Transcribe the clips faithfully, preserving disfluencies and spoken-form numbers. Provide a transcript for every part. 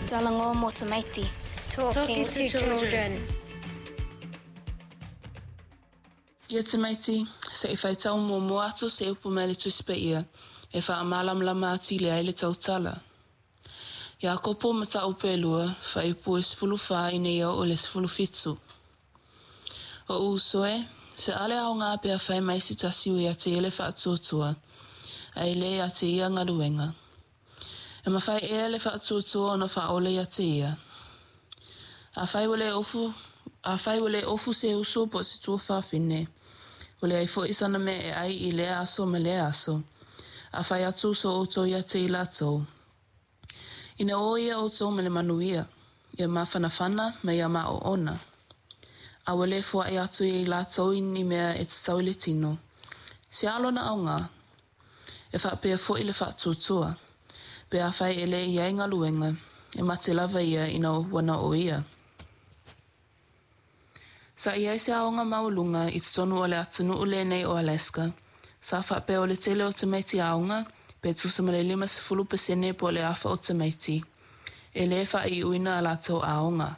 Talanoa mo tamaiti. Talking to children. Ia tamaiti, se i faitau muamua atu se upu mai le Tusi Paia e faamalamalama atili ai le tautala. Iakopo mataupu e lua, fuaiupu e sefulu fa ina ia oo i le sefulu fitu. Oʻu uso e, se ale aoga pe afai mai se tasi ua ia te ia le faatuatua, ae le ia te ia galuega. E mafai ea le faatuatua ona faaola ia te ia? Afai ua le ofu, afai ua le ofu se uso po o se tuafafine, ua leai foi sana mea e ai i lea aso ma lea aso, a fai atu so outou ia te i latou, Ina o ia outou ma le manuia, ia mafanafana ma ia maoona. A ua le foai atu ia i latou i ni mea e tatau i le tino, se a lona aoga? E faapea foi le faatuatua, pe afai e le i ai galuega, e mate lava ia ina ua na o ia. Sa i ai se aoga maualuga i totonu o le atunuu lenei o Alaska, sa faapea o le tele o tamaiti aoga, pe tusa ma le lima sefulu pasene po o le afa o tamaiti, e le faaiuina a latou aoga.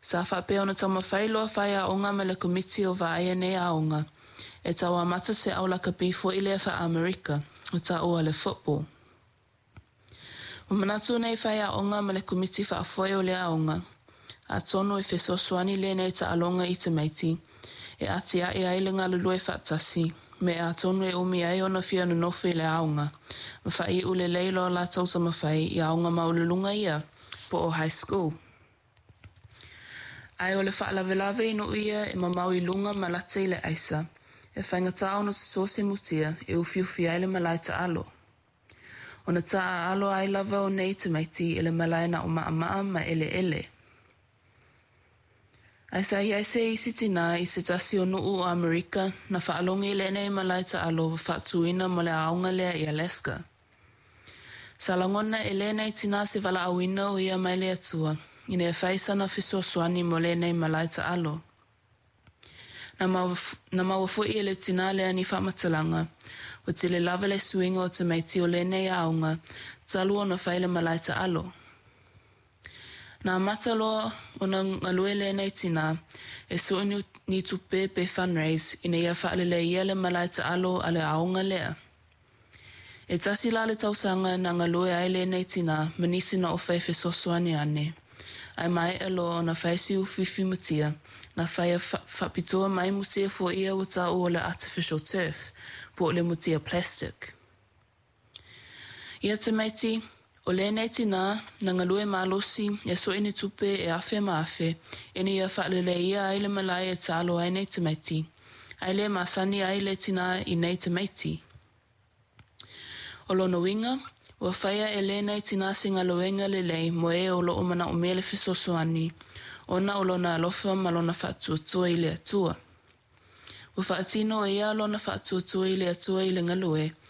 Sa faapea ona taumafai loa faiaoga ma le komiti o vaaia nei aoga, e tau amata se au lakapi foi lea faa-Amerika, ua taua o le football. Ua manatu nei faiaoga ma le komiti faafoe o lea aoga, atonu e fesoasoani lenei taaloga i tamaiti, e atiae ai le galulue faatasi, me atonu e umi ai ona fia nonofo i le aoga, ma faaiu lelei loa latou taumafai i aoga maualuluga ia, po o high school. Ae o le faalavelave i nuu ia e mamao i luga ma lata i le aisa, e faigata ona toto se mutia e ufiufi ai le malae taalo. Ona taaalo ai lava o nei tamaiti i le malae na o maʻamaʻa ma eleele. Ae sa i ai se isi tinā i se tasi o nuu o Amerika na faalogo i lenei malae taalo ua faatuina mo le aoga lea i Alaska. Sa lagona e lenei tinā se valaauina o ia mai le Atua ina ia fai sana fesoasoani mo lenei malae taalo. Na maua, na maua foi e le tinā lea ni faamatalaga, ua tele lava le suiga o tamaiti o lenei aoga talu ona fai le malae taalo. Na amata loa ona galue lenei tinā e sue ni tupe pe fundraise ina ia faaleleia le malae taalo a le aoga lea. E tasi la le tausaga na galue ai lenei tinā ma nisi na ofa e fesoasoani ane, ae maea loa ona fai si ufiufi mutia, na faia faapitoa mai mutia foi ia ua taua o le artificial turf, po o le mutia plastic. Ia tamaiti, o lenei tinā na galue malosi e sue ni tupe e afe ma afe ina ia faaleleia ai le malae e taalo ai nei tamaiti, ae le masani ai le tinā i nei tamaiti. O lona uiga, ua faia e lenei tinā se galuega lelei mo e o loo manaomia le fesoasoani, ona o lona alofa ma lona faatuatua i le Atua. Ua faatino e ia lona faatuatua i le Atua i le galue,